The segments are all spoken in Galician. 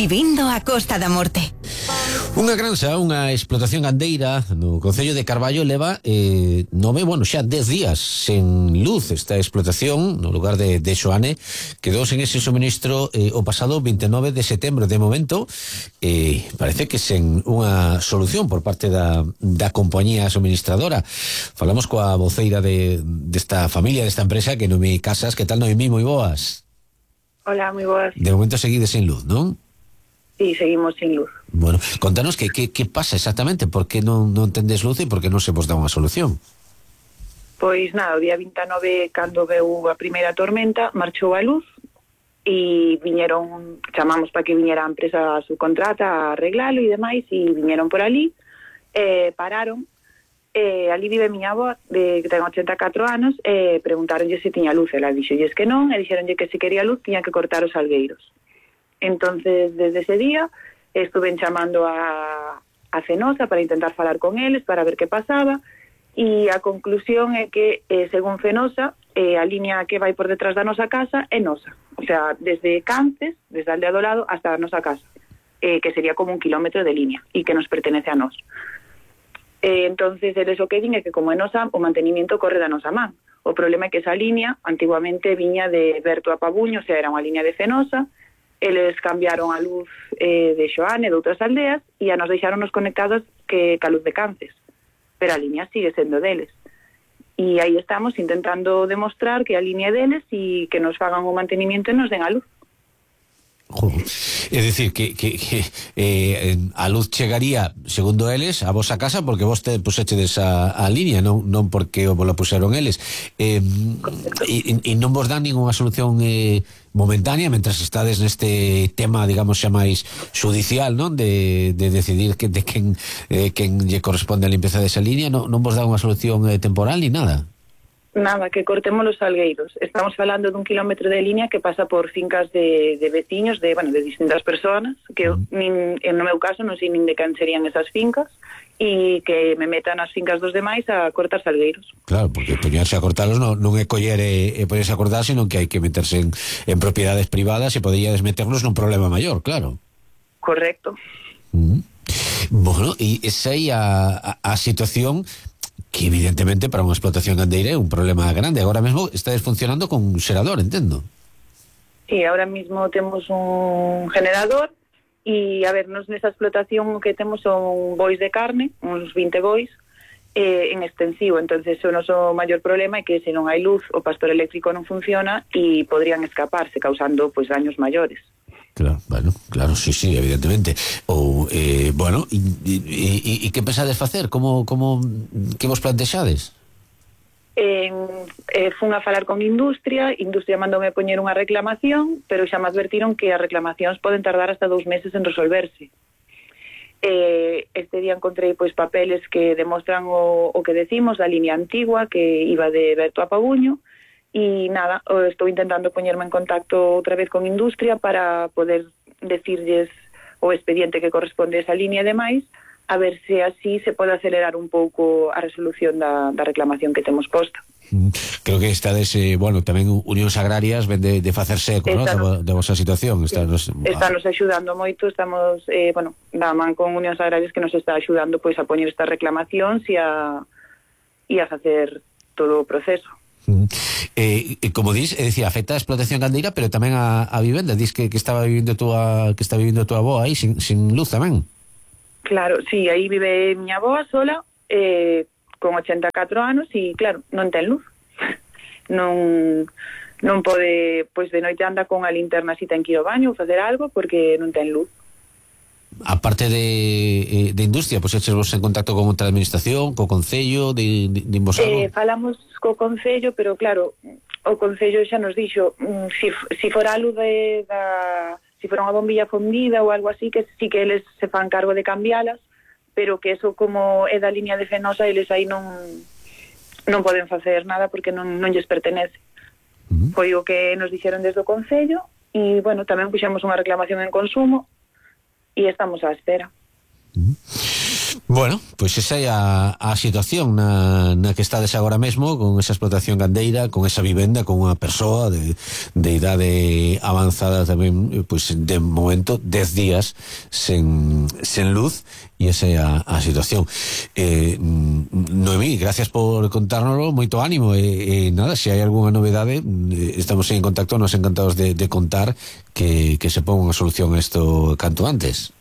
Vivindo a Costa da Morte. Unha granxa, unha explotación gandeira no concello de Carballo leva xa 10 días sen luz. Esta explotación no lugar de Xoane quedou sen ese suministro o pasado 29 de setembro. De momento parece que sen unha solución por parte da compañía suministradora. Falamos coa voceira desta familia, desta empresa, que Noemí Casas. Que tal, Noemí? Moi boas. Hola, moi boas. De momento seguides sen luz, non? Sí, seguimos sin luz. Bueno, contanos que pasa exactamente, por que non tendes luz e por que non se vos dá unha solución. Pois nada, o día 29, cando veu a primeira tormenta, marchou a luz e chamamos para que viñera a empresa subcontrata a arreglalo e demais, e viñeron por ali, pararon, ali vive miña avó, que ten 84 anos, preguntaronlle se tiña luz, ela dixolles que non, e dixeronlle que se quería luz tiña que cortar os salgueiros. Entonces, desde ese día, estuve chamando a Fenosa para intentar falar con eles, para ver que pasaba, e a conclusión é que, según Fenosa, a línea que vai por detrás da nosa casa é nosa. O sea, desde Cances, desde a aldea do lado, hasta a nosa casa, que sería como 1 kilómetro de línea, e que nos pertenece a nós. Entonces, eles o que din é que, como é nosa, o mantenimiento corre da nosa man. O problema é que esa línea, antiguamente, viña de Berto a Pabuño, o sea, era unha línea de Fenosa. Eles cambiaron a luz de Xoane, de outras aldeas, e a nos deixaronnos conectados ca luz de Cances, pero a línea sigue sendo deles, e aí estamos intentando demostrar que a línea é deles e que nos fagan o mantenimiento e nos den a luz. É dicir, que a luz chegaría, segundo eles, a vosa casa porque vos pusechedes a línea, non porque vos la puseron eles, e non vos dan ninguna solución momentánea mentras estades neste tema, digamos, xa máis judicial, non? De decidir de quen lle corresponde a limpeza desa línea. Non vos dan unha solución temporal ni nada? Nada, que cortemos los salgueiros. Estamos falando de 1 kilómetro de línea que pasa por fincas de veciños, de distintas personas, que no meu caso non sei nin de quen serían esas fincas, e que me metan as fincas dos demais a cortar salgueiros. Claro, porque poñerse a cortalos non é coller e poñerse a cortar, senón que hai que meterse en propiedades privadas e poderíades meternos nun problema maior, claro. Correcto. Bueno, e esa aí a situación que evidentemente para unha explotación gandeira é un problema grande. Agora mesmo estáis funcionando con un xerador, entendo. Sí, ahora mismo temos un generador e, a ver, nos nesa explotación que temos son bois de carne, uns 20 bois, en extensivo. Entonces o noso maior problema é que se non hai luz, o pastor eléctrico non funciona e podrían escaparse causando daños maiores. Claro, bueno, claro, sí, evidentemente. Ou, bueno, e que pensades facer? Que vos plantexades? Fun a falar con Industria mandoume poñer unha reclamación, pero xa me advertiron que as reclamacións poden tardar hasta 2 meses en resolverse. Este día encontrei papeles que demostran o que decimos da línea antigua que iba de Berto a Pabuño. E nada, estou intentando poñerme en contacto outra vez con Industria para poder decirlles o expediente que corresponde a esa línea e demais, a ver se así se pode acelerar un pouco a resolución da reclamación que temos posta. Creo que estades, tamén Unións Agrarias ven de facerse eco, de vosa situación. Estános axudando moito, estamos, da man con Unións Agrarias que nos está axudando a poñer estas reclamacións e a facer todo o proceso. Como dis, afecta a explotación gandeira, pero tamén a vivenda. Dis que está vivindo a tua avó aí sin luz tamén. Claro, sí, aí vive miña avó sola, con 84 anos e claro, non ten luz. Non pode, de noite anda con a linterna si ten que ir ao baño ou facer algo porque non ten luz. A parte de Industria, echesvos en contacto con outra administración, co Concello, de vos algo? Falamos co Concello, pero claro, o Concello xa nos dixo si fora a luz si fora unha bombilla fundida ou algo así, que sí que eles se fan cargo de cambialas, pero que eso como é da línea de Fenosa, eles aí non poden facer nada porque non lles pertenece. Foi o que nos dixeron desde o Concello e, tamén puxemos unha reclamación en consumo e estamos á espera. Bueno, pois esa é a situación na que estades agora mesmo, con esa explotación gandeira, con esa vivenda, con unha persoa de idade avanzada tamén, pois de momento 10 días sen luz, e esa é a situación. Noemí, gracias por contárnoslo, moito ánimo, e nada, se hai algunha novedade, estamos en contacto, nos encantados de contar que se ponga unha solución a isto canto antes.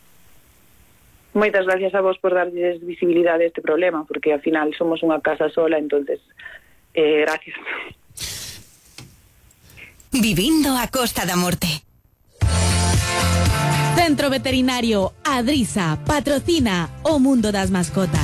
Moitas gracias a vos por darles visibilidade a este problema, porque ao final somos unha casa sola, entonces gracias. Vivindo a Costa da Morte. Centro Veterinario Adrisa patrocina o mundo das mascotas.